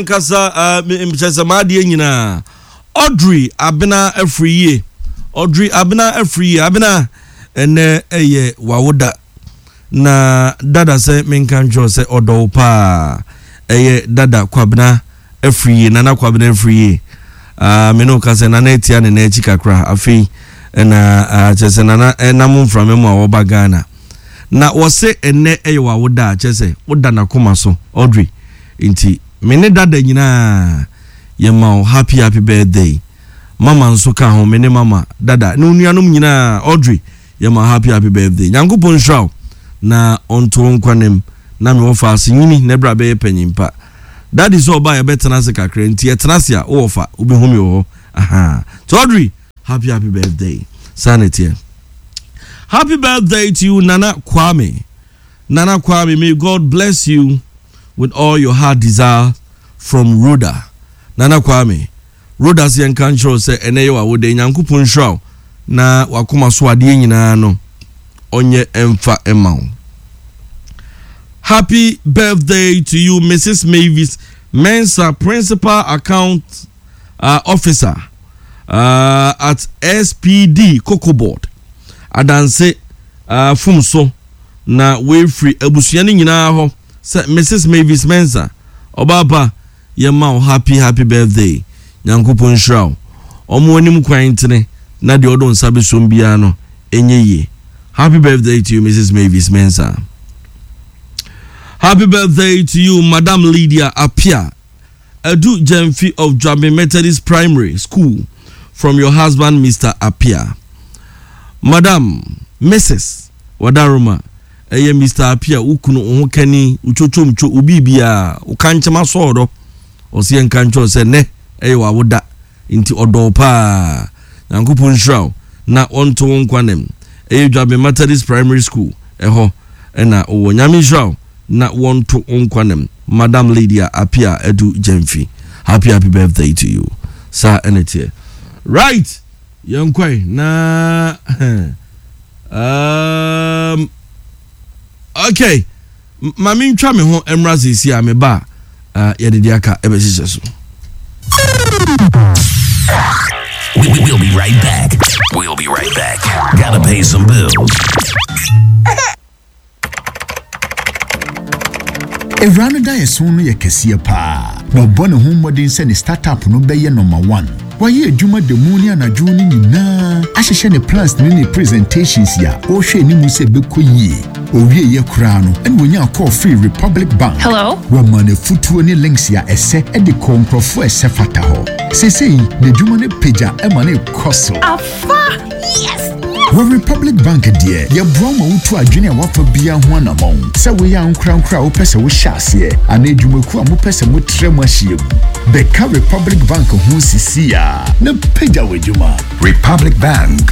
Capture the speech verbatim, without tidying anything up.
Ankasa kyerɛ sɛ maadeɛ nyinaa Audrey Abena afiri yie, Audrey Abena afiri yie. Abena, ɛnɛ ɛyɛ wawoda na dada sɛ menka nkyerɛ sɛ ɔdɔ wo paa. Ɛyɛ dada Kwabena afiri yie, Nana Kwabena afiri yie. uh, me ne wo ka sɛ Nana atia ne nan akyi kakra. Afei ɛna uh, kyerɛ sɛ Nana ɛnam mframa mu a wɔba Ghana na wɔse ɛnɛ ɛyɛ wawoda a kyerɛ sɛ woda n'akoma so, Audrey. Nti me ne dada nyinaa yɛma wo happy happy birthday. Mama nso ka ho, me ne mama, dada ne onuanom nyinaa, Audrey, yɛma happy happy birthday. Nyankopɔn nhyira wo na ɔnto wo nkwanem na me wɔfa ase nyini na ɛberɛ a bɛyɛ panyin pa. Daddy sɛ ɔba yɛbɛtena ase kakra, nti yɛtena ase a wowɔ fa wobɛhu me wɔ hɔ. Aha, nti Audrey, happy happy birthday. Saa ne teɛ. Happy birthday to you, Nana Kwame. Nana Kwame, may God bless you with all your heart desire from Rhoda. Nana Kwame, Rhoda sɛ yɛnka nkyerɛ wo sɛ ɛnɛ yɛ w'awoda. Nyankopɔn nhyira wo na wakoma so adeɛ nyinaa no ɔnyɛ ɛmfa ɛma wo. Happy birthday to you, Missus Mavis Mensa, Principal Account uh, Officer uh, at S P D Cocoa Board. Adanse uh, fum so na wefiri abusua no nyinaa hɔ sɛ Missus Mavis Mensa, ɔbaapa, yɛma wo happy happy birthday. Nyankopɔn nhyira wo, ɔmo anim kwan tene na deɛ ɔdo nsa bɛsom biara no ɛnyɛ yie. Happy birthday to you, Missus Mavis Mensa. Happy birthday to you, Madam Lydia Apia Adu Jemfi of Dwabe Methodist Primary School, from your husband, Mister Apia. Madam Missus Wadaroma, ɛyɛ Mister Apia wo kunu, wo ho kani, wo twotwomtwo, wo biribiaa, wo ka nkyɛm asɔɔdɔ. Ɔsɛ yɛnka nkyerɛ sɛ nnɛ ɛyɛ w'awoda nti ɔdɔ paa. Nyankopɔn nhyira wo na ɔnto wo nkwa nem. Ɛyɛ Dwabe Methodist Primary School ɛhɔ ɛna wowɔ. Nyame nhyira wo na wɔnto wo nkwa nem. Madam Lydia Apia Adu Gyamfi, happy happy birthday to you. Saa ɛna teɛ. Right, yɛnkɔe na um, okay, ma mentwa me ho mmra seesi a meba a uh, yɛde de aka ɛbɛhyehyɛ so. We, we'll be right back. We'll be right back. Gotta pay some bills. Ewura no daeɛso no yɛ kɛseɛ paa na ɔbɔ ne ho mmɔden sɛ ne startup no bɛyɛ number one. Wayɛ adwuma da mu ne anadwo no nyinaa ahyehyɛ ne plans ne ne presentations a ɔrehwɛ anim sɛ ɛbɛkɔ yie. Owieyɛ koraa no ɛna wɔnya call firi Republic Bank. Hello? Wɔma no afutuo ne links a ɛsɛ de kɔɔ nkurɔfoɔ a ɛsɛ fata hɔ. Seesei n'adwuma no pagya ma no kɔ so. Afa! Yes! Wɔ Republic Bank deɛ, yɛboa ma wotu adwene a wafa biara ho anammɔn, sɛ woyɛ ankorankora a wopɛ sɛ wohyɛ aseɛ anaa adwumakuo a mopɛ sɛ motrɛ mu ahyia mu. Bɛka Republic Bank ho sisi a na pagya w'adwuma. Republic Bank.